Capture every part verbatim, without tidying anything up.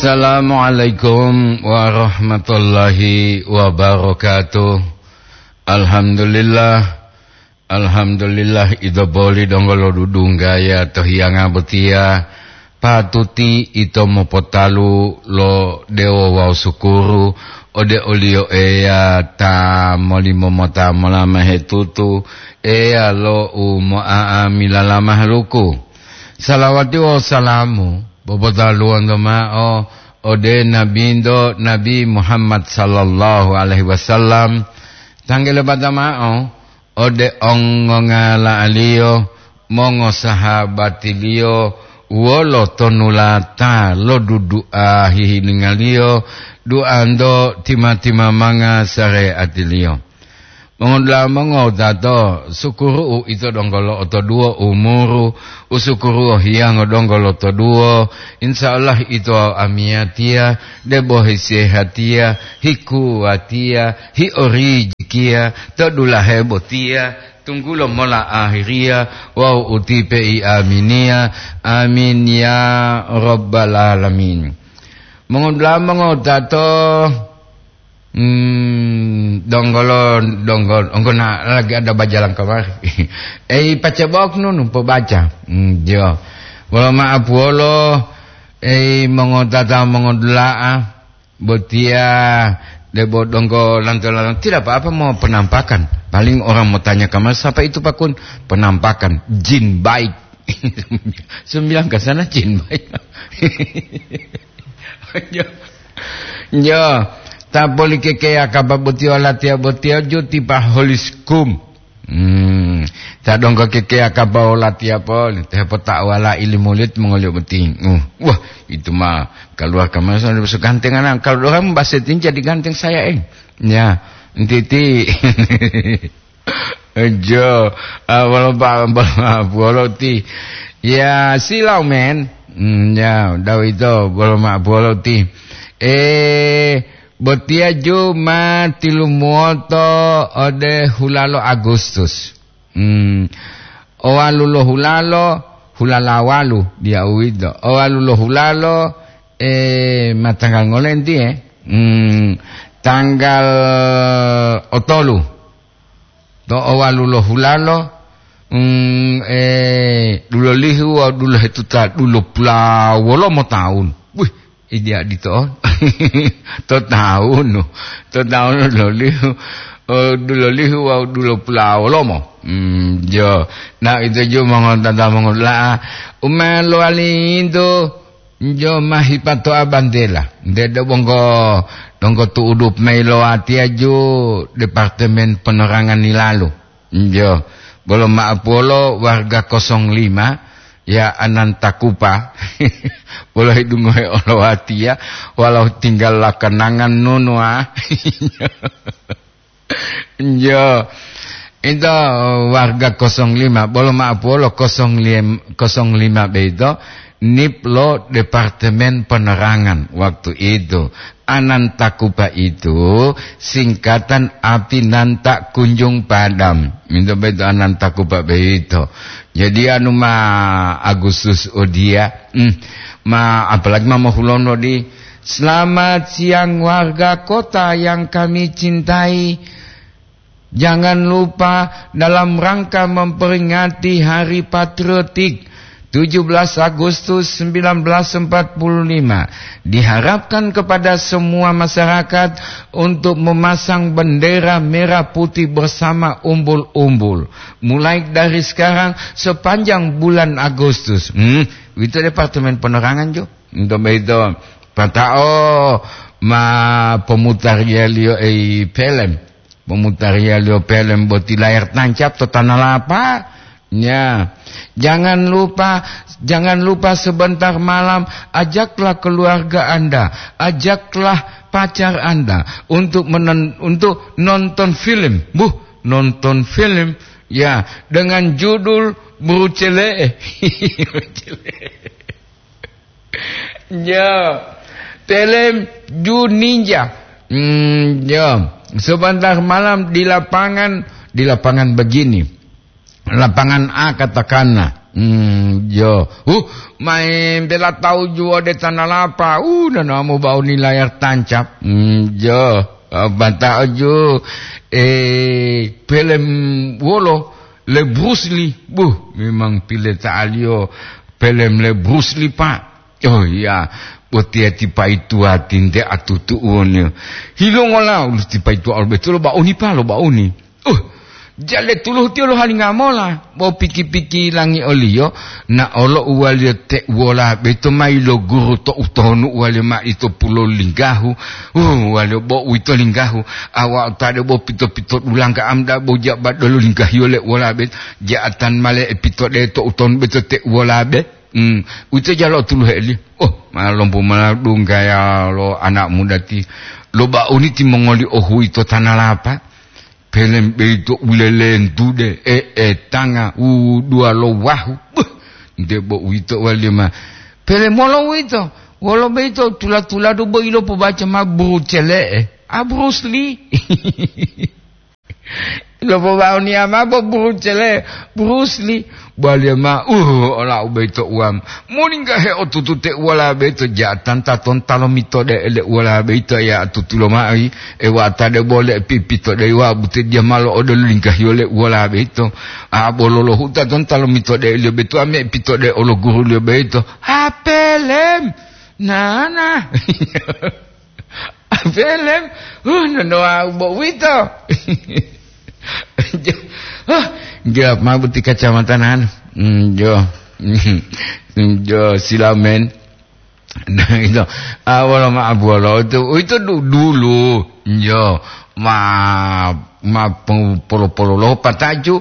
Assalamualaikum warahmatullahi wabarakatuh. Alhamdulillah. Alhamdulillah, ito boli donggo lodudunggaya to hiyanga botiya. Patuti ito mopotalu lo dewo wawu sukuru ode oliyo Eya ta molimo mota molamahe tutu, Eya lo u mo'a'amila lamahaluku. Salawati wawu salamu popotaluwanto mao ode Nabinto, Nabi Muhammad sallallahu alaihi wasallam, tanggele bata mao ode ongongala'aliyo, mongosahabatiliyo, wolo tonulata lo dudu'a hihiningaliyo, du'anto tima-timamanga sare'atiliyo. Mongodula'a mongowutato, sukuru'u ito donggo lo'otoduwo umuru, usukuruwo hiyango donggo lotoduwo, insya Allah ito amiyatiya, debo hisehatiya, hikuwatiya, hiorijikiya, to dulahe botiya, tunggulo mola ahiriya, wawu utipe i aminiya. Amin ya rabbal alamin. Mongodula'a mongowutato, Hmm, donggolo, donggo, donggo na lagi ada bajalan kemari. Eh, pace bok nunu, pobaca. Hmm, jo. Wolo ma'apuwolo, eh, mongotata mongodula'a, botiya debo donggo lanto-lanto. Tidak apa-apa mau penampakan. Paling orang mau tanya kamar, siapa itu Pakun? Penampakan. Jin baik. Sembilang ke sana jin baik. Jo. Jo. Ta poli kekeya kaba botiya latiya botiya jo tipa holiskum. Hmm. Ta donggo kekeya kaba latiya poli. Te hepota'wala ili mulit mongoliyo boti. Uh. Wah, itu mah keluar kamar sana besok ganteng anak. Kalau orang basetin jadi ganteng saya, eh. Ya, entiti. Jo, ah, bolo pa-, bolo, bolo ti. Ya, silau, men. Hmm, ya, udah itu, bolo ma-, bolo ti. Eh, botiya ju ma tilumuwoto ode hulalo Agustus. Hmm, owalu lo hulalo, hulala walu, dia uwito. Owalu lo hulalo, eh, ma tanggal ngolenti, eh? Hmm, tanggal otolu. To owalu lo hulalo, mm, eh, dulolihu wawu dulohetuta dulopula wolomo taun. Wih, idi adito on. To taunu. To taunu dulolihu, eh, dulolihu wawu dulopula wolomo. Mm, jo. Nah, itu ju mongontata mongola'a. Uma lowali itu Jo ma hipatoa bantela, nte do bonggo donggo tu'udu mayi lo watiya ju Departemen Penerangan yilalu. Jo, bolo ma'apuwolo warga kosong lima, ya Ananta Kupa, bolo hidungohe olo watiya, walau tinggal lakanangan nunuwa. Jo, ito warga kosong lima, bolo ma'apuwolo kosong lima, kosong lima beito, nip lo Departemen Penerangan waktu itu. Ananta Kupa itu singkatan api nan tak kunjung padam. Minto beito Ananta Kupa beito. Jadi anu ma Agustus odia, hmm, ma apalagi ma mohulono di. Selamat siang warga kota yang kami cintai. Jangan lupa dalam rangka memperingati Hari Patriotik tujuh belas Agustus sembilan belas empat puluh lima, diharapkan kepada semua masyarakat untuk memasang bendera merah putih bersama umbul-umbul. Mulai dari sekarang sepanjang bulan Agustus. Hmm, itu Departemen Penerangan, jo. Untuk itu, patao ma pemutariyaliyo ei pelem. Pemutariyaliyo pelem boti layar tancap to tanah lapa. Ya, jangan lupa, jangan lupa sebentar malam ajaklah keluarga Anda, ajaklah pacar Anda untuk menen-, untuk nonton film. Buh, nonton film, ya, dengan judul Brucele. Brucele. Ya, film Ju Ninja. Hmm, ya, sebentar malam di lapangan, di lapangan begini. Lapangan A katakanlah. Hmm, jo. Uh, main bela tau juo de tanalapa. Uh, nana mo bauni layar tancap. Hmm, jo. Ah, banta'o ju, eh, pelem wolo le Bruce Lee. Buh, memang pile ta'aliyo pelem le Bruce Lee, Pak. Oh iya, botiya tipa ituwa tinte atutu'uwoniyo. Hilongola ulu tipa ituwa olo betulo bauni pa lo bauni. Uh, jale tuluhu tiyo lohalinga mola, bo piki-piki langi oliyo, na olo uwaliyo te uwola beto mayi lo guru to utonu uwaliyo ma ito pulo linggahu. Uh, uwaliyo bo uwito linggahu, awa utade bo pito-pito dulangga amda bo jaba dolo linggahiyo le uwola beto, ja'atan male e pito de to utonu beto te uwola be. Hmm, uwito jalo tuluhe eli. Oh, ma lompo ma dunggaya lo anak muda ti. Lo bauni timongoli ohuyi to tanalapa. Pelem beito ulelentude, e, e, tanga, u, dua lo wahu. Buh, nte bo uwito wali ma. Pelem wolo uwito? Wolo beito tula-tuladu bo ilo pobaca ma Bruce Lee. A Bruce Lee. Lopobaoniya mao bo Bruce Lee, Bruce Lee. Baliya mao, uh, ola u boyito uwam. Moningga heotutu te uwala boyito ja'atan tatonta lomitode'e le uwala boyito, ya tutulo mao yi, e wa'ata de bole pipitodeyi wa bute diya malo odelo linggahiyo le uwala boyito. A bololohu tatonta lomitode'e liyo boyito, ame pitode'e olo guruliyo boyito. Apelem, nana. Apelem, uh, nonowa u bo uwito. Jo, huh, gelap mao boti kacamata nanu. Hmm, jo. Hmm, jo, silamen. Nah, itu. Ah, wolo ma abuwolo itu, itu du-, dulu. Jo, ma, ma peng-, polo-pololo pataju,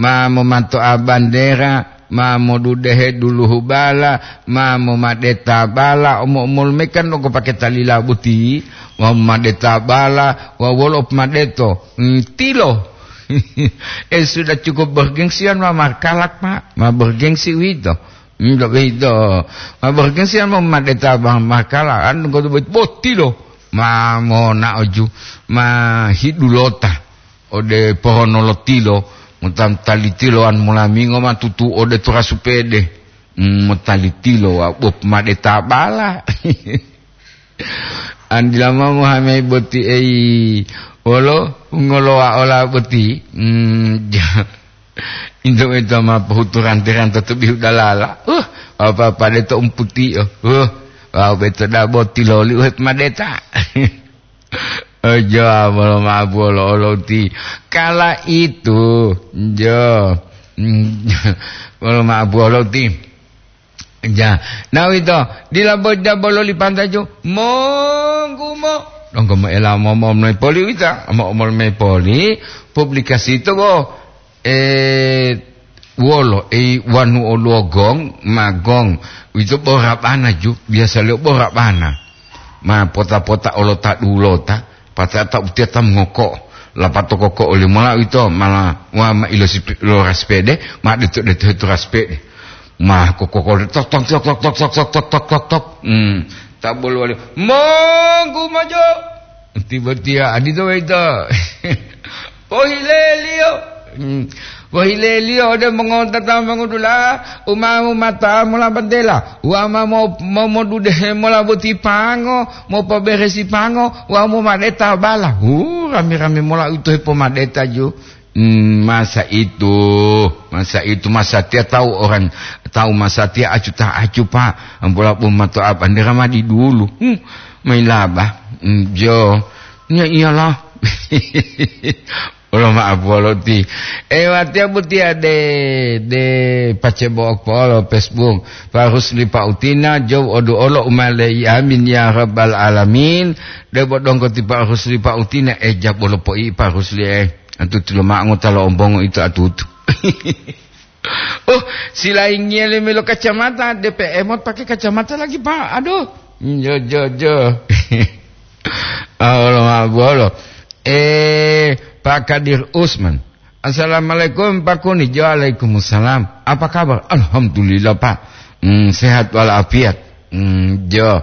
ma momanto'a bandera, ma modudehe duluhu bala, ma momadeta bala, omo-omolu me kan donggo pake talila boti, ma momadeta bala, wa wolo pomadeto, mm, tilo. Eh, sudah cukup bergengsian ma markalak, Pak. Ma bergengsi uwito. Hmm, ndak beito. Ma bergengsian ma momadeta bang markalak, an donggo boti, bo tilo. Ma mona'o ju, ma hidulota. Ode pohono lo tilo, mota tali tiloan molamingo ma tutu ode turasu pede. Mm, motali tilo wa bo pomadeta bala. Andila mao mohamai boti ei, wolo ngolowa ola boti. Mm, ja. Into ito ma pohutu ranti-ranto to bihu dalala. Uh, apa-apa de to umputio. Uh, wau beto dabo tiloli uhe pomadeta. Ojo, bolo maabu olo-olo uti. Kala itu, jo. Bolo maabu olo uti. Ja, na uwito, dila bo jabo loli pantaju, monggumo. Donggo moela omo-omol mayi poli uwito, omo-omol mayi poli, publikasi to bo, eh, wolo, eh, wanu oluwo gong, ma gong. Uwito bo rabana ju, biyasaliyo bo rabana. Ma pota-pota olota dulota, patata utiya ta mongoko, lapato koko oli mola uwito, mala wa ma ilosi-, lo raspede, ma deto-deto hetu raspede. Ma kokokol tok, tok, tok. Hmm, ta boluwaliyo, "Monggu mojo." Tiba-tiba, adito boyito. Pohileliyo. Hmm. Pohileliyo ode mongotata mongudula, umamu mata mola bantela, wama mo-, mo-, modudehe mola boti pango, mopoberesi pango, wawu momadeta bala. Hu, rame-rame mola uwito hepomadeta ju. Hmm, masa itu, masa itu, masatiya tawu orang, tawu masatiya acu ta acu, Pak. Ampola pun matoa bandera ma di dulu. Hmm, mailaba. Hmm, jo. Ya iyalah. Olo ma abuwolo ti. E watiya butiya de, de pacebo okpolo Facebook. Pak Rusli Pak Utina, jo odu olo umale, amin ya rabbal alamin. De bo donggo ti Pak Rusli Pak Utina, e jabolo poi Pak Rusli e. Atutu lomao ngota lo ombongo ito atutu. Oh, silaingiya le melo kacamata, D P M ot pakai kacamata lagi, Pak. Aduh. Jo, jo, jo. Ah, olo ma bolo. Eh, Pak Kadir Usman. Assalamualaikum, Pak Kuni. Jo, waalaikumsalam. Apa kabar? Alhamdulillah, Pak. Hmm, sehat walafiat. Hmm, jo.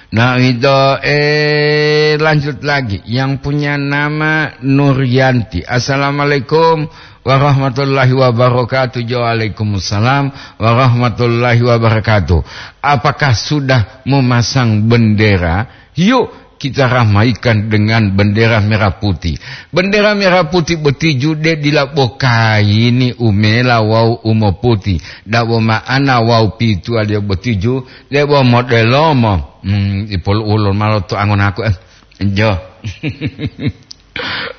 Nah, itu, eh, lanjut lagi. Yang punya nama Nuryanti. "Assalamualaikum warahmatullahi wabarakatuh." "Waalaikumsalam warahmatullahi wabarakatuh. Apakah sudah memasang bendera? Yuk, kita ramaikan dengan bendera merah putih." Bendera merah putih boti ju de dila bo kaini umela wawu umoputi. Dabo ma'ana wawu pituwaliyo boti ju, debo modelomo. Hmm, ipolu'ulo malo to angonaku, eh. Jo.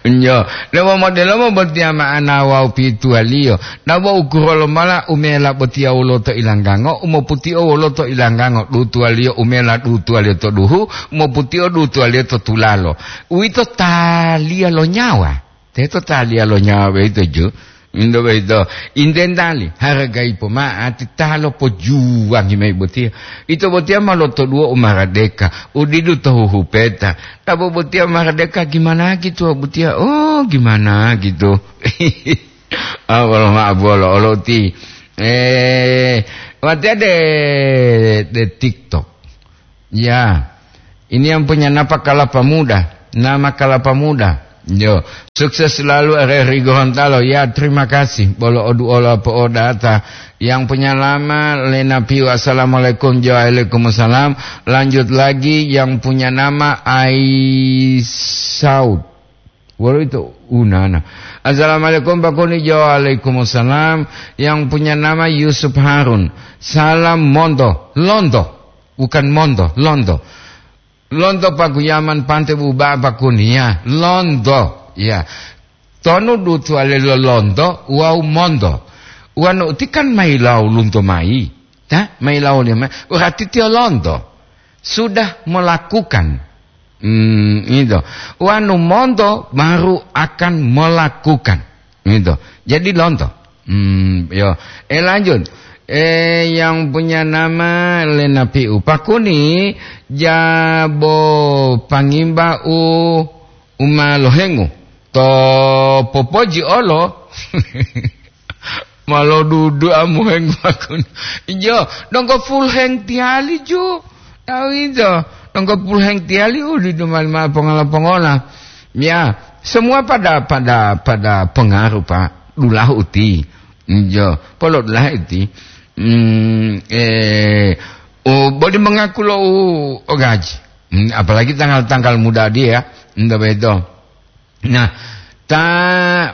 Jo. Debo modelomo botiya ma'ana wawu pituwaliyo. Dabo ukuro lomala umela botiya wolo to ilanggango, umoputio wolo to ilanggango, dutuwaliyo umela dutuwaliyo to duhu, umoputio dutuwaliyo to tulalo. Uwito taliya lo nyawa. Teto taliya lo nyawa boyito ju. Indo boyito. Intentali, haragayi poma'ati ta lopojuwangi mayi botiya. Ito botiya ma lotoduwo u maradeka, u didu to huhupeta. Dabo botiya maradeka gimana gitu, botiya? Oh, gimana gitu. Ah, wolo ma'o bolo, olo uti. Eh, watiya de, de TikTok. Ya, ini yang punya napa kalapa muda, nama kalapa muda. Yo, sukses selalu R R I Gorontalo. Ya, terima kasih. Bolo odu ola po odata. Yang punya nama Lena Piu, "Assalamualaikum." Jo, "Waalaikumsalam." Lanjut lagi, yang punya nama Aisaud. Wolo ito unana. "Assalamualaikum, Pak Kuni." Jo, "Waalaikumsalam." Yang punya nama Yusuf Harun. "Salam monto." Lonto. Bukan monto, lonto. Lonto paguyaman pante buba'a Pak Kuni, ya. Lonto, ya. Tonu dutuwale lo lonto wawu monto. Wanu uti kan mayilawu lunto mayi. Ta, mayilawu lima. Berarti tiyo lonto. Sudah melakukan. Hmm, itu. Wanu monto baru akan melakukan. Gitu. Jadi lonto. Hmm, yo. Eh, lanjut. Eh, yang punya nama Lena Piu. "Pak Kuni, jabo pangimba u, uma lohengu. To popoji olo." Malo dudu amu heng bakun. Jo, donggo full heng tiali ju. Tahu itu. Donggo full heng tiali, udi dumali ma pongola-pongola. Ya, semua pada, pada, pada pengaruh, Pak. Dulahu uti. Jo, polo dulahu uti. Hmm, eh, oh, boleh mengaku lo u, o gaji. Hmm, apalagi tanggal-tanggal muda dia, ndak beto. Nah, ta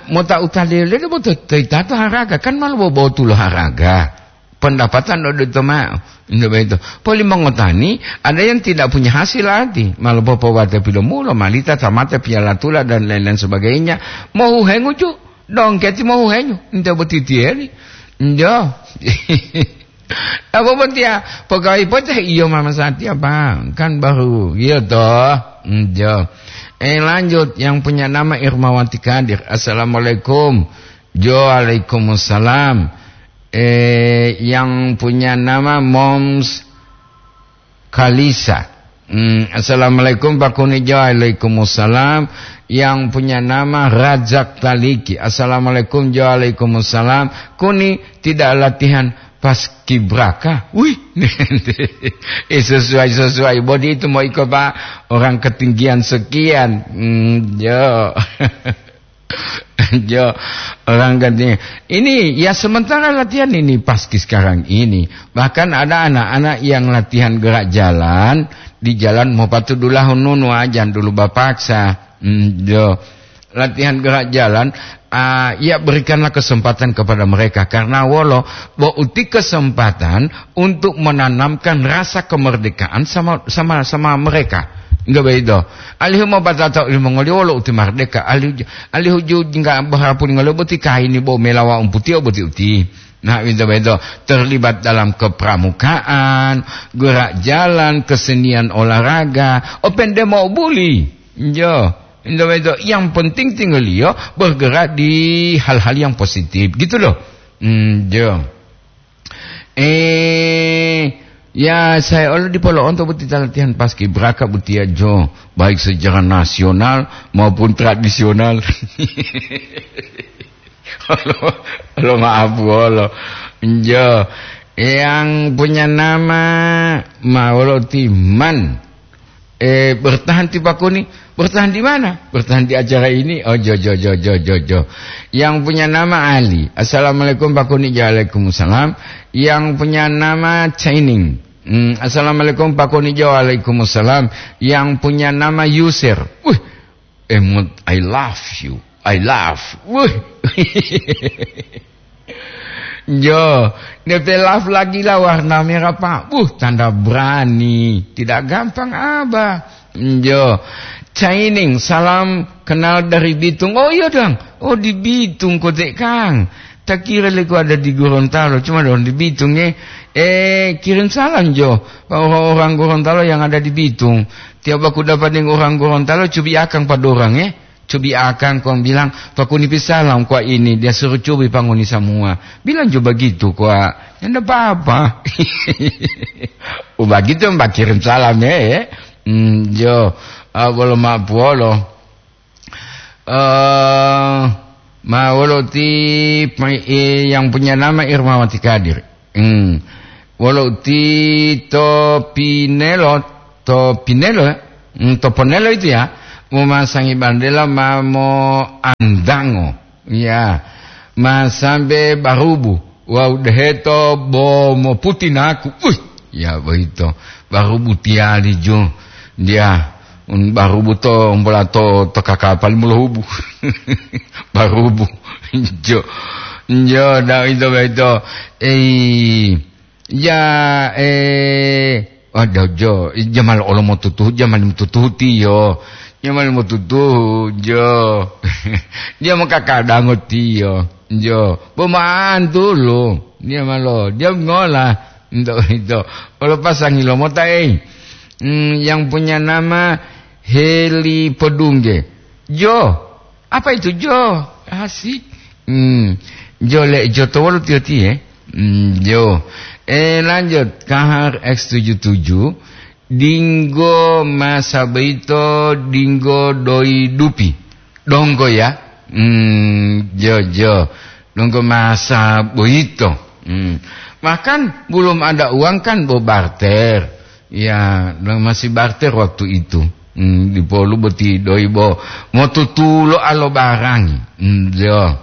mota utalele bo to, to itato haraga, kan malu bobotu lo haraga. Pendapatan odito ma'o. Ndak beto. Poli mongotani, ada yang tidak punya hasil ati. Malu popowate pilomulo, malita, tamate, piala tula, dan lain-lain sebagainya. Mohuhengu ju, dongketi mohuhenyu. Ndak botitieri. Njo. Apa botiya? Pegawai poteh iyo mama satia, Pak. Kan baru, iya toh. Njo. Eh, lanjut, yang punya nama Irmawati Kadir. "Assalamualaikum." Jo, "Waalaikumsalam." Eh, yang punya nama Moms Kalisa. Hmm, "Assalamualaikum, Pak Kuni." Jo, "Waalaikumsalam." Yang punya nama Razak Taliki. "Assalamualaikum." Jo, "Waalaikumsalam." "Kuni tidak latihan paskibraka?" Wih, eh, sesuai-sesuai. Bodi itu mau ikut, Pak, orang ketinggian sekian. Hmm, jo. Jo, orang katanya, ini ya sementara latihan ini paski sekarang ini. Bahkan ada anak-anak yang latihan gerak jalan di jalan mau patu dulahun nunu aja dulu bapaksa. Hmm, jo. Latihan gerak jalan, ah, ya berikanlah kesempatan kepada mereka. Karena wolo, bo uti kesempatan untuk menanamkan rasa kemerdekaan sama, sama, sama mereka. Enggak begitu. Alihu mau batata ulimongoli wolo uti merdeka. Alihu, alihu ju enggak berharap ngolo boti kaini bo melawa umputi o boti uti. Nah, begitu, begitu. Terlibat dalam kepramukaan, gerak jalan, kesenian olahraga. Open demo buli. Jo. Begitu, begitu. Yang penting tinggaliyo bergerak di hal-hal yang positif. Gitu loh. Hmm, jo. Eh, ya, saya olo dipolo'onto boti latihan paskibraka botiya jo, baik secara nasional maupun tradisional. Olo, olo maaf, olo. Jo, yang punya nama Maolo Timan. Eh, bertahan ti Pakuni. Bertahan di mana? Bertahan di acara ini. Oh, jo, jo, jo, jo, jo, jo. Yang punya nama Ali. Assalamualaikum Pakuni. Waalaikumsalam. Yang punya nama Chaining. Hmm, assalamualaikum Pakuni. Waalaikumsalam. Yang punya nama Yusir. Wih, emot, I love you. I love. Wih. Jo, D P love lagi lah warna merah, Pak. Wuh, tanda berani. Tidak gampang, Abah. Jo. Caining, salam kenal dari Bitung. Oh, iya, Dang. Oh, di Bitung kote, Kang. Tak kira leko ada di Gorontalo, cuma dong di Bitung, eh. Eh, kirim salam, Jo. Pak, orang-orang Gorontalo yang ada di Bitung. Tiap aku dapat dengan orang Gorontalo, cubi akang padorang, eh. Cubi akang kong bilang, "Pakuni pisalam kwa ini, dia suruh cubi panguni semua." Bilang juga begitu kwa. Ya, ndak apa-apa. Oh, begitu, Mbak, kirim salam, ya, ya. Hmm, jo. Ah, bolo ma puolo. Eh, ma wolo ti, pa-, eh, yang punya nama Irmawati Kadir. Hmm. Wolo ti to Pinelo, to Pinelo, ya? Hmm, to Ponelo itu ya, momasangi bandela ma moandango. Ya, ma sambe barubu. Wawu deheto bo moputi naku. Wih, ya boyito. Barubu tiyali ju. Dia, un barubu to, umbola to, to kakapal molohubu. Barubu. Jo. Jo, da ito boyito. Ei, ya, eh, aduh, Jo, jamal olo motutuhu, jamal motutuhu tiyo. Jamal motutuhu, Jo. Dia mokakadango tiyo. Jo, bo ma'antulu. Dia malo, dia ngola. Ento, ento. Olo pasangi lo mota, eh. Hmm, yang punya nama Heli Podungge. Jo, apa itu, Jo? Asik. Hmm, Jo le, Jo to wolo tiyo tiye. Hmm, Jo. Eh, lanjut. Kahar X tujuh tujuh. Dinggo masa boyito, dinggo doi dupi. Donggo ya? Hmm, jo, jo. Donggo masa boyito. Hmm. Bahkan belum ada uang kan bo barter. Ya, masih barter waktu itu. Hmm, dipolu boti doi bo motutulo alo barang. Hmm, jo.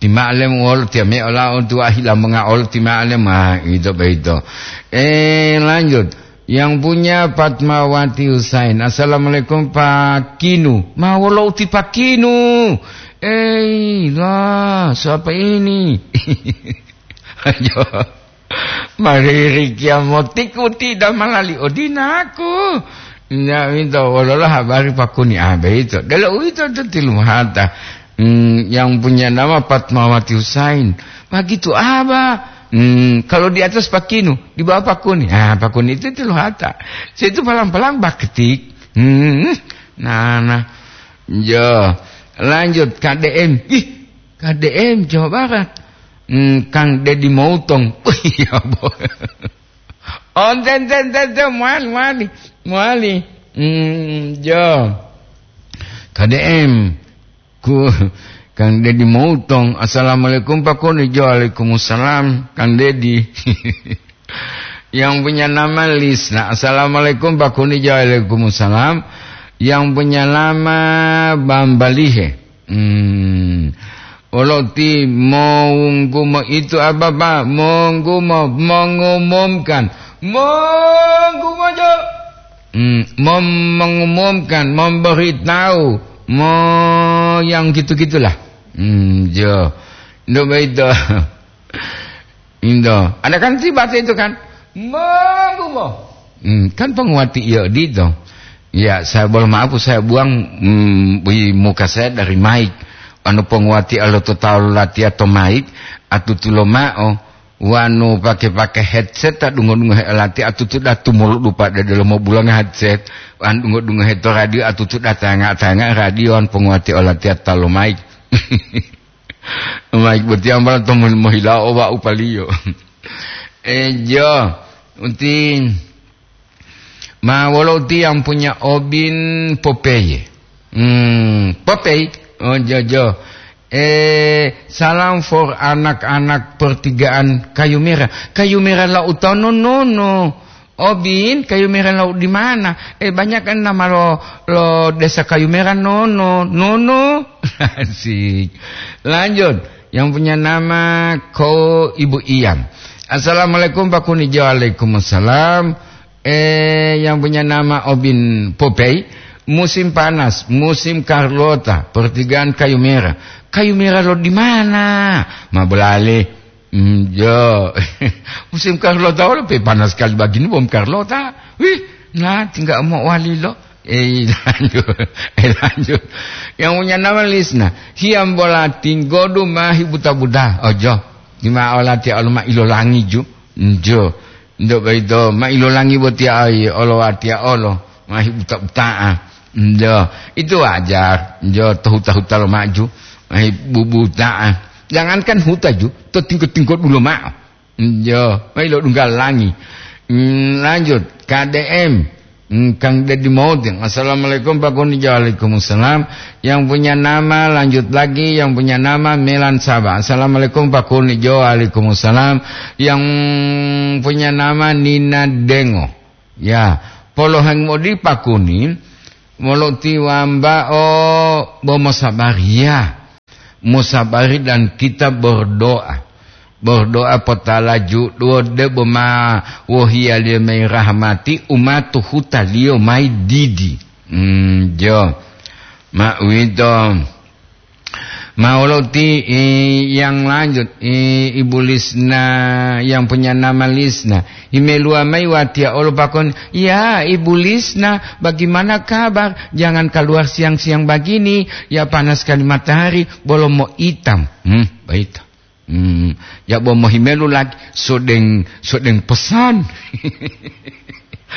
Tima'alem wolo tiyame'o lao tuwa hilamonga olo tima'alem, ah, ito boyito. Eh, lanjut. Yang punya Fatmawati Husain. "Assalamualaikum, Pak Kinu." Ma wolo uti Pak Kinu? Eh, lah, siapa ini? Ayo. Mariri kiamotiku tidak malali odinaku. Ya, minta wololah habari Pak Kuni. Ah, begitu. Kalau itu tuh tilumhata. Hmm, yang punya nama Fatmawati Husain. Begitu, Abah. Hmm, kalau di atas Pak Kinu, di bawah Pak Kuni. Ah, Pak Kuni itu tilu hata. Saya itu palang-palang baketik. Hmm, nah, nah. Jo, lanjut K D M. Ih, K D M Jawa Barat. Hmm, Kang Dedi Moutong. Oh, iya, bo. Oh, enten, enten, enten, enten, muali, muali. Muali. Hmm, jo. K D M. Ku, Kang Dedi Moutong, "Assalamualaikum, Pak Kuni." Jo, "Waalaikumsalam, Kang Dedi." Yang punya nama Lisna, "Assalamualaikum, Pak Kuni." Jo, "Waalaikumsalam." Yang punya nama Bambalihe. Hmm. Oloti monggumo itu apa, Pak? Monggumo, mengumumkan. Monggumo, Jo. Hmm, mem-, mengumumkan, memberitahu, mo-, yang gitu-gitulah. Hmm, jo. Ndak begitu. Indo. Ada kan tiba itu kan? Monggumo. Hmm, kan penguati iya dito. Ya, saya boleh maaf, saya buang, hmm, di muka saya dari mic. Anu penguati alo to talu lati atau mic, atutulo mao. Wanu pake-pake headset, ta dungo-dungo he lati atutu datu mulu dupa de delo mo bulanga headset. Wan dungo-dungo he to radio atutu datanga-tanga radio an penguati olati atalo mic. Mic boti ambala to mo-, mohila owa upaliyo. Eh, jo, uti ma wolo uti yang punya obin Popeye. Hmm, Popeye, oh, jo, jo. Eh, salam for anak-anak pertigaan Kayu Merah. Kayu Merah la utano nono. Obin, kayu merah lo di mana? Eh, banyak kan nama lo, lo desa kayu merah, Nono. Nono. Asik. Lanjut. Yang punya nama Ko Ibu Iyam. "Assalamualaikum, Pak Kunijo." "Waalaikumsalam." Eh, yang punya nama Obin Popey. "Musim panas, musim Carlota, pertigaan kayu merah." Kayu merah lo di mana? Ma bolale. Hmm, jo. Musim Carlota wolo pe panas sekali begini, bom Carlota. Wih, nah, tinggal mau wali lo. Eh, lanjut. Eh, lanjut. Yang punya nama Lisna. "Hiyambola tinggodu mahi buta-buta." Ojo. Dima olati alo ma ilolangi ju. Njo. Ndo boyito ma ilolangi boti ai olo watia olo. Mahi buta-butaa. Njo. Itu wajar. Njo, to huta-huta lo maju. Mahi bubutaa. Jangankan huta ju, to tingko-tingko dulo ma'o. Njo, mayi lo dungga langi. Hmm, lanjut, K D M. Hmm, Kang Dedi Mautin. "Assalamualaikum, Pak Kunijo." "Waalaikumsalam." Yang punya nama, lanjut lagi, yang punya nama Melan Saba. "Assalamualaikum, Pak Kunijo." "Waalaikumsalam." Yang punya nama Nina Dengo. Ya, poloheng modi Pak Kuni, molo tiwambao bo mosabariya. Musabari dan kita berdoa. Berdoa potala juduwo debo ma wohiyaliyo mai rahmati umatu hutaliyo mai didi. Hmm, jo. Ma uwito. Ma wolo ti, eh, yang lanjut, eh, Ibu Lisna yang punya nama Lisna. Imeluwa mai watiya olo pakon, "Ya, Ibu Lisna, bagaimana kabar? Jangan keluar siang-siang begini. Ya, panas sekali matahari, bolo mo itam." Hmm, baik. Hmm, ya bo mohimelu lagi, sodeng, sodeng pesan.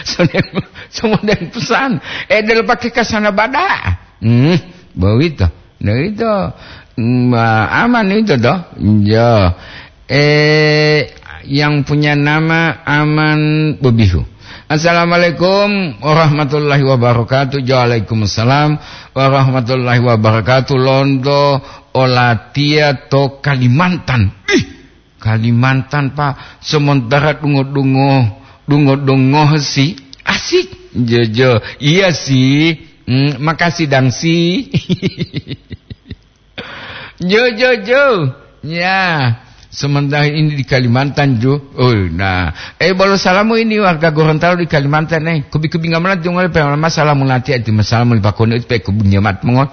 Sodeng, sodeng pesan. Eh, delo pakai kasana bada. Hmm, bawito. Nah, itu. Hmm, aman itu toh. Ya. Eh, yang punya nama Aman Bebihu. "Assalamualaikum warahmatullahi wabarakatuh." "Waalaikumsalam warahmatullahi wabarakatuh." Lonto olatiya to Kalimantan. Ih, Kalimantan, Pak, sementara dungo-dungo, dungo-dungo si asik. Jojo, iya sih. Hmm, makasih dang sih. Jo, jo, jo. Ya, sementara ini di Kalimantan, Jo. Oh, nah. Eh, bolo salamu ini warga Gorontalo di Kalimantan, eh. Kubi-kubi ngamala jongole pe lama salamu lati ati masalamu li pakone pe kubi nyamat mongot.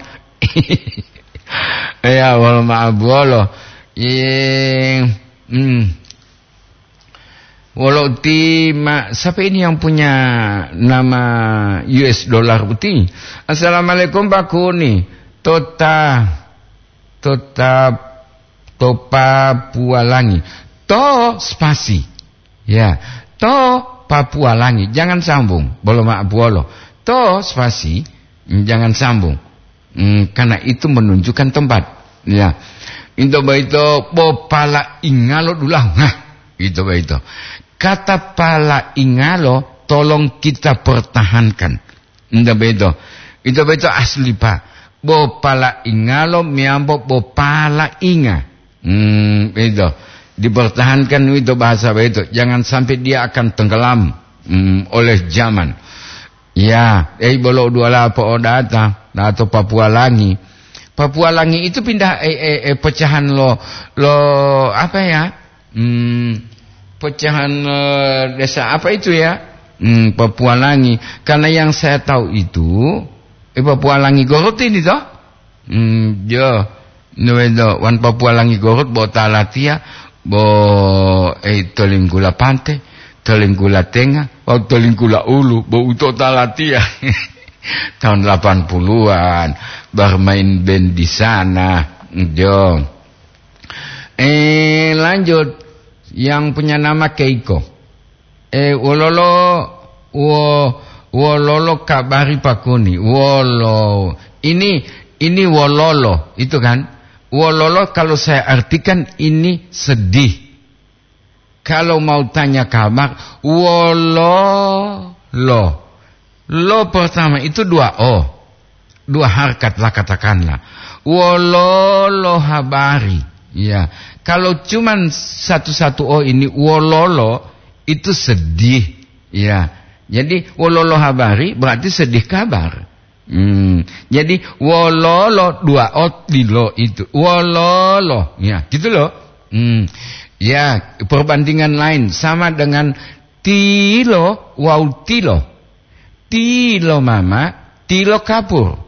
Ya, wolo ma'abuwolo. Ye, hmm. Wolo ti ma-, siapa ini yang punya nama U S dollar putih? "Assalamualaikum, Pak Kuni." Tota, tota, to Papua Langi. To spasi. Ya, to Papua Langi. Jangan sambung. Bolo ma'abuwolo. To spasi. Jangan sambung. Hmm, karena itu menunjukkan tempat. Ya. Ito boyito bo pala ingalo dulahu. Nah, ito boyito. Kata pala ingalo tolong kita pertahankan. Ito boyito. Ito boyito asli, Pak. Bo pala ingalo meyambo bo pala inga. Hmm, itu. Dipertahankan itu bahasa itu. Jangan sampai dia akan tenggelam, hmm, oleh zaman. Ya, eh, bolo dua lapo odata, atau Papua Langi. Papua Langi itu pindah, eh, eh, eh, pecahan lo, lo, apa ya? Hmm, pecahan, eh, desa apa itu ya? Hmm, Papua Langi. Karena yang saya tahu itu, eh, Papua Langi Gorut ini toh? Hmm, jo. Nuwedo, wan Papua Langi Gorut bo ta latiya, bo, eh, Tolinggula Pante, Tolinggula Tenga, wawu Tolinggula Ulu, bo uto ta latiya. Tahun delapan puluhan, bermain band di sana. Jo. Eh, lanjut. Yang punya nama Keiko. Eh, wololo, wo-, wololo kabari Pak Kuni? Wolo. Ini, ini wololo, itu kan. Wololo kalau saya artikan ini sedih. Kalau mau tanya kabar, wololo. Lo pertama itu dua O. Dua harkat lah katakanlah. Wololo habari. Ya, kalau cuman satu-satu O ini wololo, itu sedih. Ya, jadi wololo habari berarti sedih kabar. Hmm, jadi wololo dua ot dilo itu. Wololo, ya, gitu loh. Hmm, ya, perbandingan lain sama dengan tilo wau tilo. Tilo mama, tilo kapur.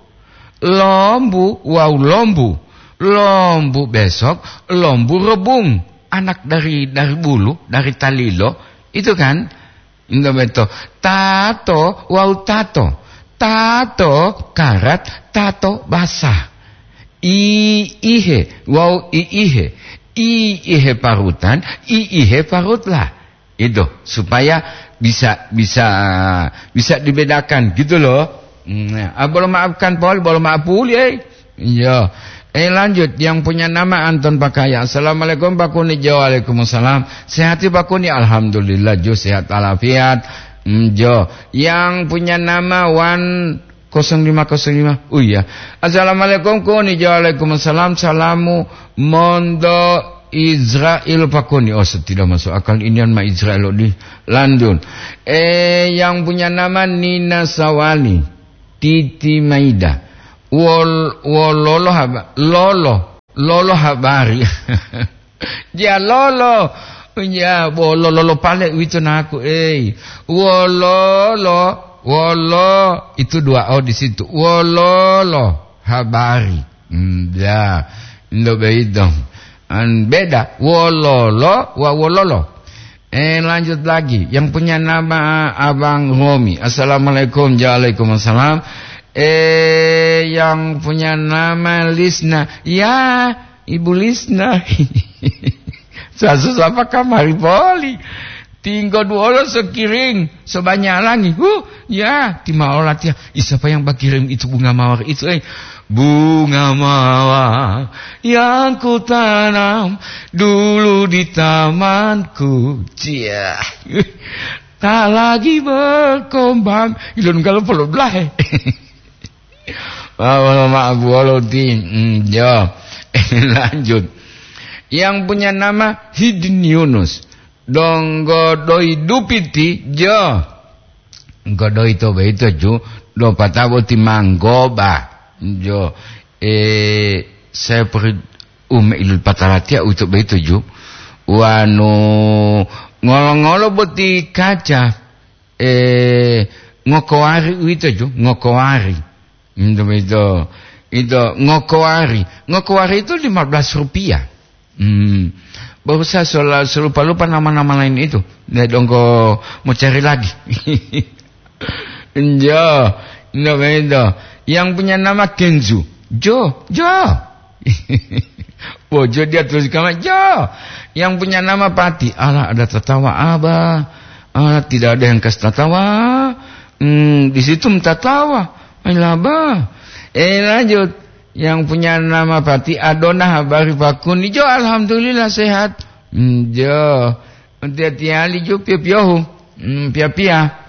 Lombu wau lombu. Lombu besok, lombu rebung. Anak dari dari bulu, dari talilo, itu kan? Ndo beto. Tato wau tato. Tato karat, tato basah. I ihe wau i ihe. I ihe parutan, i ihe parutlah. Itu supaya bisa bisa bisa dibedakan gitu loh. Hmm, ya. Ah, bolo maafkan Paul, bolo maaf puli, eh. Iya. Eh, lanjut, yang punya nama Anton Pakaya. Assalamualaikum Pak Kuni. Jo, waalaikumsalam. Sehat ya Pak Kuni? Alhamdulillah, jo, sehat alafiat. Hmm, jo. Yang punya nama Wan kosong lima kosong lima. Oh iya. Assalamualaikum Kuni. Jo, waalaikumsalam. Salamu mondo Israel Pak Kuni. Oh, tidak masuk akal ini ma Israel di London. Eh, yang punya nama Nina Sawali, Titi Maida. Wol, wololo haba, lolo, lolo habari. Ya lolo. Ya, bo lolo pale uwito naku, ei. Wololo, wolo, itu dua o di situ. Wololo habari. Hmm, ya. Ndo beito. An beda. Wololo wa wololo. Eh, lanjut lagi. Yang punya nama Abang Romi. Assalamualaikum. Waalaikumsalam. Eh, yang punya nama Lisna. Ya, Ibu Lisna. Sasusapa kamari poli. Tinggo duolo sekiring, sebanyak langi. Huh, ya, timaola tia. Ih, siapa yang bakirim itu bunga mawar itu, eh? Bunga mawar yang kutanam dulu di tamanku. Cia. Tak lagi berkembang. Ilun kalau perlu belah, eh. Wah, wah, wah, wah, buolo ti. Hmm, jo. Lanjut. Yang punya nama Hidin Yunus. Donggo doi dupiti, jo. Godoi to beito, ju. Do patabo ti manggoba. Jo. Eh, saya peri ume ilul patalatia uto beito, ju. Wanu ngolo-ngolo boti kaca. Eh, ngokowari uwito ju, ngokowari. Ito, ito, ito, ngokowari. Ngokowari itu lima belas rupiah. Hmm. Baru saya sela-, selupa-lupa nama-nama lain itu. Dia dongko mau cari lagi. Jo, ito, ito. Yang punya nama Kenzu. Jo, Jo. Bojo dia tulis kamar, Jo. Yang punya nama Pati. Alah, ada tatawa, Abah. Alah, tidak ada yang kasih tatawa. Hmm, di situ tatawa. Alah, Abah. Eh, lanjut. Yang punya nama Pati, Adona, habari Pak Kuni. Jo, alhamdulillah sehat. Hmm, Jo. Hati-hati ali ju pio-piohu. Hmm, pia-pia.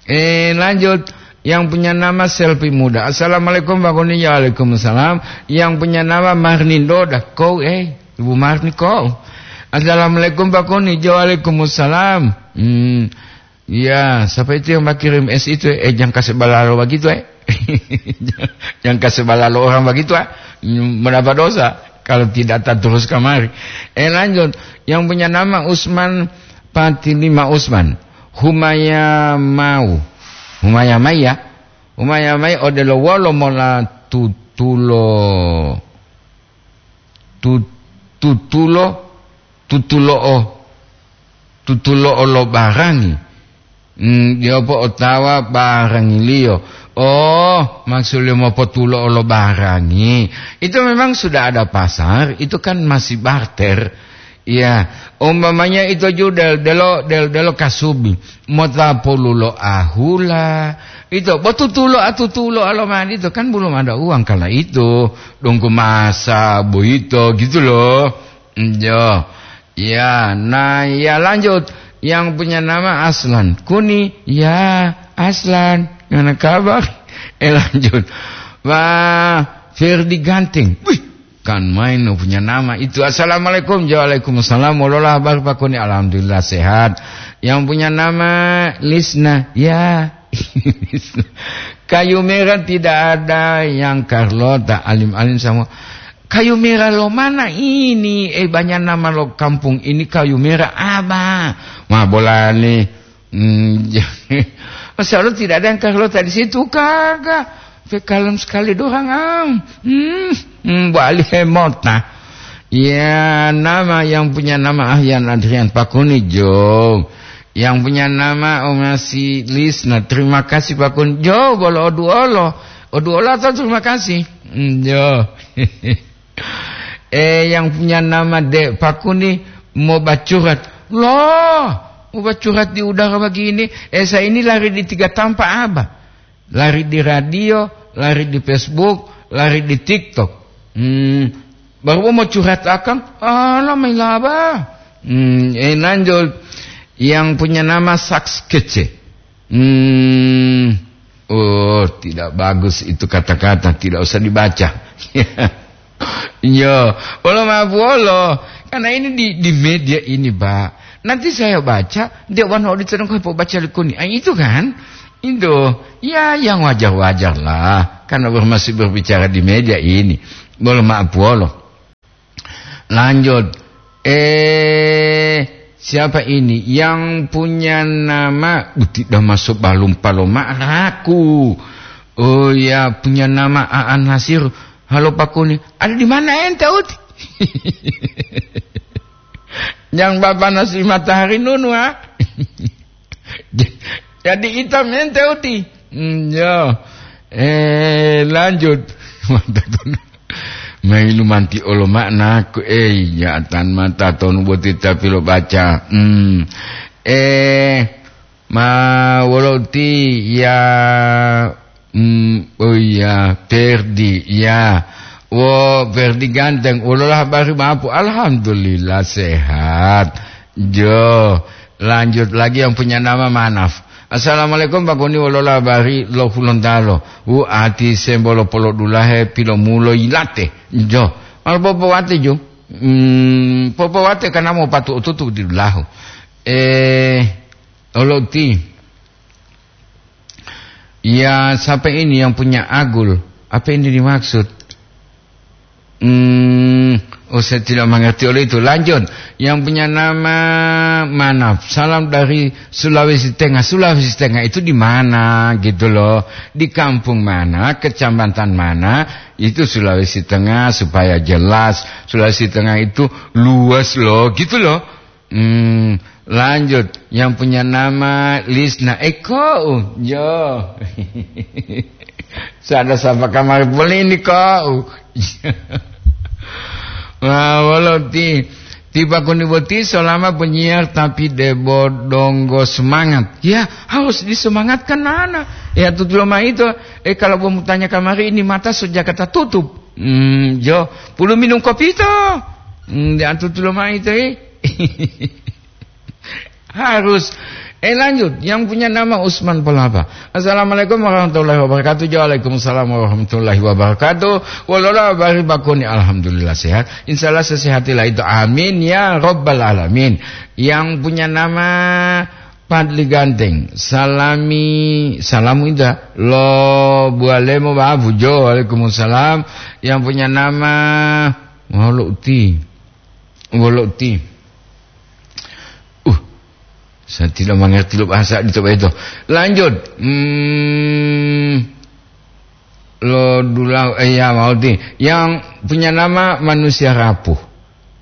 Eh, lanjut. Yang punya nama Selfie Muda. Assalamualaikum, Pak Kuni. Waalaikumsalam. Yang punya nama Marni Doda. Kau, eh, Ibu Marni, kau. Assalamualaikum, Pak Kuni. Waalaikumsalam. Hmm. Ya, siapa itu yang kirim es itu, eh? Eh, jangan kasih balalo begitu, eh. Jangan kasih balalo orang begitu, ah. Hmm, mendapat dosa kalau tidak tak terus kamari. Eh, lanjut. Yang punya nama Usman Pati Lima Usman. Humaya mau. Humaya mai ya. Humaya mai odelo wolo mola tutulo. Tu-, tutulo, tutulo'o, tutulo'o lo barangi. Hmm, dia apa otawa barangiliyo. Oh, maksudnya mau potulo'o lo barangi. Itu memang sudah ada pasar, itu kan masih barter. Iya, umpamanya itu ju del-, delo, del-, delo kasubi, mota pululo ahula. Itu, bo tutulo atutulo alomani itu kan belum ada uang kala itu. Dongku masa boyito gitu loh. Iya. Ya, nah, ya lanjut. Yang punya nama Aslan. Kuni, ya, Aslan. Mana kabar? Eh, lanjut. Wah, Ferdi Ganteng. Wih, kan main punya nama itu. Assalamualaikum. Waalaikumsalam. Wololah habar Pak Kuni? Alhamdulillah sehat. Yang punya nama Lisna, ya. Kayu merah tidak ada yang Carlota, alim-alim semua. Kayu merah lo mana ini? Eh, banyak nama lo kampung ini kayu merah apa? Ma bolani. Hmm, Masya Allah, tidak ada yang Carlota di situ, kagak. Pe kalem sekali doang, am. Hmm, hmm, bali hemota. Ya, nama yang punya nama Ahyan Adrian Pakuni, Jo. Yang punya nama Omasi Lisna, terima kasih Pakuni. Jo, bolo oduolo. Oduolo atau terima kasih? Hmm, Jo. Eh, yang punya nama Dek Pakuni mau bacurat. Loh, mau bacurat di udara begini? Eh, saya ini lari di tiga tampak, Abah. Lari di radio, lari di Facebook, lari di TikTok. Hmm, baru mau curhat akang, alah, mailaba. Hmm, eh, lanjut. Yang punya nama Saks Kece. Hmm, oh, tidak bagus itu kata-kata, tidak usah dibaca. Iya, wolo maaf wolo. Karena ini di, di media ini, Pak. Nanti saya baca, dia warna audit sedang kau baca lekuni. Ah, itu kan? Itu. Ya, yang wajar-wajar lah. Karena ber-, masih berbicara di media ini. Wolo maaf wolo. Lanjut. Eh, siapa ini? Yang punya nama, uh, tidak masuk balum paloma raku. Oh ya, punya nama Aan Nasir. Halo Pakuni, ada di mana ente, Uti? Yang Bapak Nasri Matahari Nunu, ha? Jadi hitam ente, Uti. Hmm, ya. Eh, lanjut. Mailu manti olo maknaku, eh, ya tan mata tonu boti tapi lo baca. Hmm. Eh, Ma wolo uti ya, mm, oh iya, Ferdi, ya. Wo, Ferdi ganteng, wolola habari mapu? Alhamdulillah sehat. Jo, lanjut lagi yang punya nama Manaf. Assalamualaikum Pak Kuni, wolola habari lo Hulontalo. Wu ati sembolo polodulahe pilomulo yilate. Jo, mal popowate jo. Mm, popowate kana mo patu ututu di dulahu. Eh, Olo uti. Ya, siapa ini yang punya agul? Apa ini dimaksud? Hmm, oh, saya tidak mengerti oleh itu. Lanjut, yang punya nama Manaf. Salam dari Sulawesi Tengah. Sulawesi Tengah itu di mana gitu loh? Di kampung mana? Kecamatan mana? Itu Sulawesi Tengah supaya jelas. Sulawesi Tengah itu luas loh, gitu loh. Hmm, lanjut, yang punya nama Lisna Eko, uh, jo. Sada sapa kamari poli ini kau. Wah, wolo ti, tiba kuni boti selama penyiar tapi debo donggo semangat. Ya, harus disemangatkan anak. Ya, tutulo ma itu. Eh, kalau mau tanya kamari ini mata sejak kata tutup. Hmm, jo, pulu minum kopi to. Hmm, di antu tulo ma itu, eh. Harus. Eh, lanjut, yang punya nama Usman Palapa. Assalamualaikum warahmatullahi wabarakatuh. Waalaikumsalam warahmatullahi wabarakatuh. Wolola bari bakoni, alhamdulillah sehat. Insyaallah sesehatilah itu. Amin ya rabbal alamin. Yang punya nama Padli Ganteng. Salami, salamu indah. Lo bualemo babu jo. Waalaikumsalam. Yang punya nama Mauluti. Wolo uti. Uh, saya tidak mengerti lo bahasa di Toba itu. Lanjut. Hmm, lo dulau, eh, ya, mau ti. Yang punya nama manusia rapuh.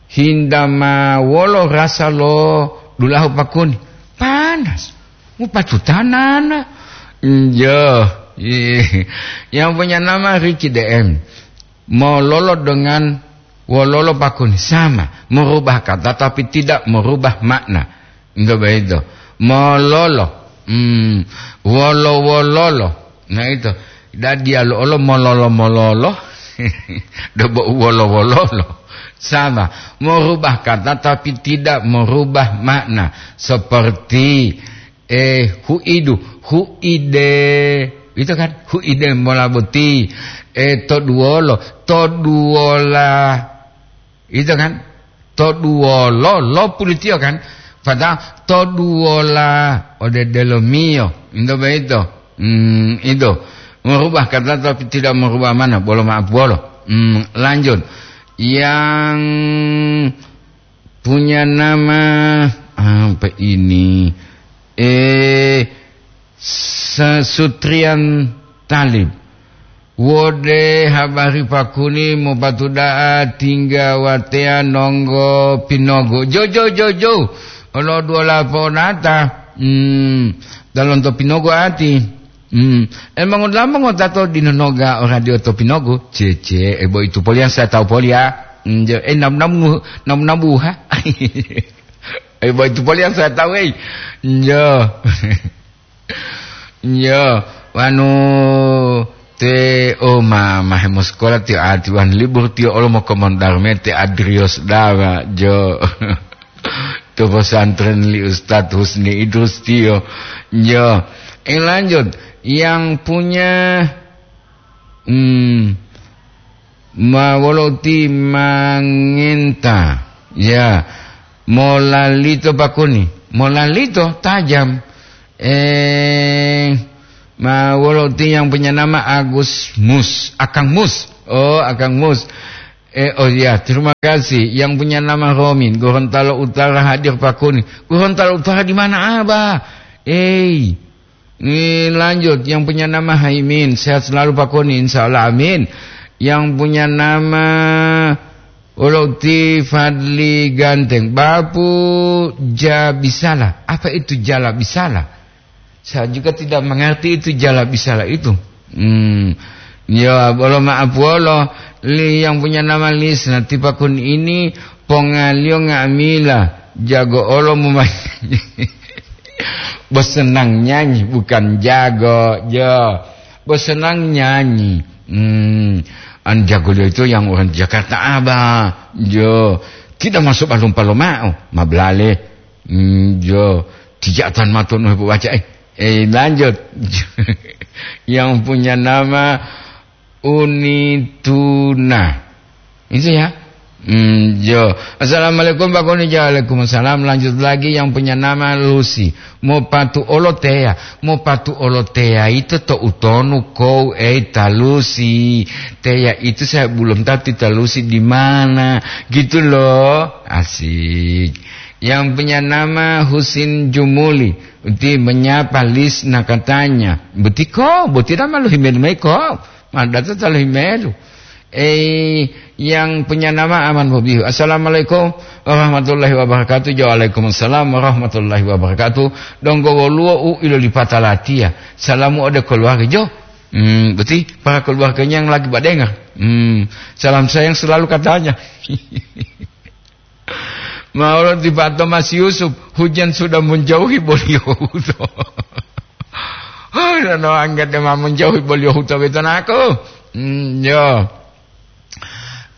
Hinda ma wolo rasa lo dulahu pakuni. Panas. Mupatutanana. Iya. Iya. Yang punya nama Ricky D M. Mololo dengan wololo pakuni sama, merubah kata tapi tidak merubah makna. Enggak begitu. Mololo, hmm, wolo-wololo. Nah itu, dan dia lo mololo-mololo, dobo wolo-wololo. Sama, merubah kata tapi tidak merubah makna. Seperti Eh, huidu, huide. Itu kan, huide mola boti. Eh, toduwolo, toduwola. Itu kan, toduwolo, lo pulitiyo kan. Pada to duwola ode delomiyo. Into boyito. Hmm, itu. Merubah kata tapi tidak merubah mana. Bolo maaf bolo. Hmm, lanjut. Yang punya nama apa ini? Eh, Sa-, Sutrian Talib. Wode habari pakuni mopatuda'a tingga wateya nonggo pinogo. Jo, jo, jo, jo. Olo duola ponata. Hmm, dalonto pinogo ati. Hmm. Emang ulama ngotato dinonoga o radio to pinogo. Cece, e bo itu polian saya tahu polia. Hmm, jo, eh, nam, nam, nam, nam buha. E bo itu polian saya tahu, eh. Jo. Yo, wanu te o ma, ma hemosekola tiyo ati wan libur tiyo olo mokomon darmete Adrios Dawa, jo. To pesantren li Ustadz Husni Idrus tiyo. Yo, eh, lanjut. Yang punya, hmm, Ma wolo ti mangenta, ya, molalito pakuni, molalito tajam. Eh, ma wolo ti yang punya nama Agus Mus, Akang Mus. Oh, Akang Mus. Eh, oh ya, terima kasih. Yang punya nama Romin, Gorontalo Utara hadir pakuni. Gorontalo Utara di mana, Abah? Eh, Ini lanjut, yang punya nama Haimin, sehat selalu Pak Koni, insya Allah, amin. Yang punya nama Ulukti Fadli Ganteng, Bapu Jabisala. Apa itu jala bisala? Saya juga tidak mengerti itu jala bisala itu. Hmm. Ya, bolo maaf wolo, li yang punya nama Lis, nanti Pak Koni ini pongaliyo nga'amila, jago olo mumayi. Bos senang nyanyi, bukan jago, jo. Bos senang nyanyi. Hmm, an jago dia itu yang orang Jakarta Abah, jo. Tidak masuk balum palomao, mablale. Hmm, jo. Tidak atan maton baca, eh. Eh, lanjut. Yang punya nama Unituna. Itu ya. Hmm, jo. Assalamualaikum, Pak Koni. Waalaikumsalam. Lanjut lagi yang punya nama Lucy. Mau patu olo teya. Mau patu olo teya itu to utonu kou, eh, talusi. Teya itu saya belum tahu ti talusi di mana. Gitu loh. Asik. Yang punya nama Husin Jumuli. Uti menyapa Lis na katanya. Butiko, buti nama lu himel maiko. Madata talo himelu. Eh, yang punya nama Aman Bobihu. Assalamualaikum warahmatullahi wabarakatuh. Jo, waalaikumsalam warahmatullahi wabarakatuh. Donggo woluwo u ilo lipata latiya. Salamu ode keluarga. Jo. Hmm, beti para keluarganya yang lagi badengar. Hmm, salam sayang selalu katanya. Maolo ti Pak Thomas Yusuf, hujan sudah menjauhi boliyo huto. Oh, no, angga de ma menjauhi boliyo huto beto naku. Hmm, yo.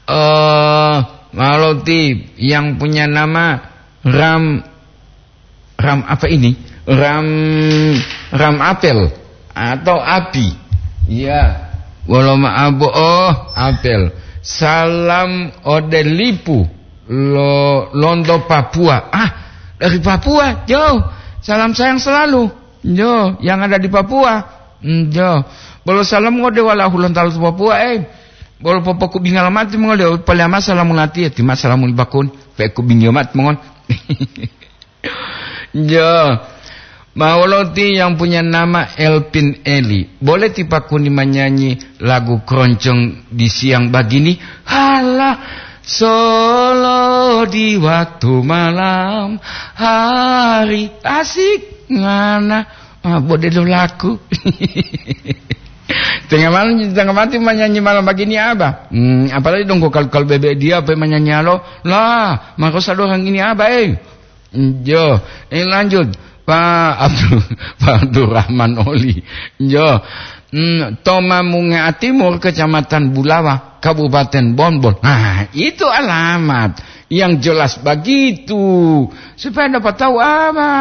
Eh, maolo ti yang punya nama Ram, Ram apa ini? Ram, Ram Apel atau Api. Ya. Wolo ma-, abo-, oh, Apel. Salam ode lipu. Lo-, Londo Papua. Ah, dari Papua, jauh. Salam sayang selalu. Jo, yang ada di Papua. Hmm, jo. Bolo salam ngode wala hulontalo to Papua, eh. Bolo popoku bingala mati mongol, pale ama salamu latiya, tima salamu libakun. Pe ku bingio mati mongol. Jo. Ma wolo ti yang punya nama Elpin Eli. Boleh ti Pak Kuni menyanyi lagu keroncong di siang begini? Halah, solo di waktu malam hari. Asik, ngana. Ah, bode lo laku. Tengah malam, tengah mati menyanyi malam begini apa? Hmm, apalagi dong kalau, kalau bebek dia apa menyanyi alo? Lah, maka sadorang ini apa, eh? Jo, eh, lanjut. Pak Abdul, Pak Abdurrahman Oli. Jo. Hmm, Tomamunga Timur, Kecamatan Bulawa, Kabupaten Bonbon. Nah, itu alamat yang jelas begitu. Supaya dapat tahu apa.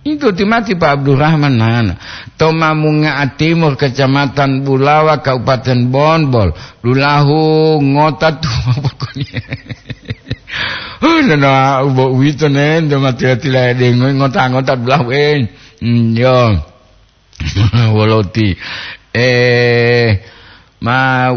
Itu timati Pak Abdurrahman, nah. Tomamunga Timur, Kecamatan Bulawa, Kabupaten Bonbon. Lulahu ngota tu pokoknya. Huh, nana ubo uwito ne, ndo ma tila-tila de ngo-, ngota-ngota dulahu, eh. Hmm, yo. Woloti. Eh, ma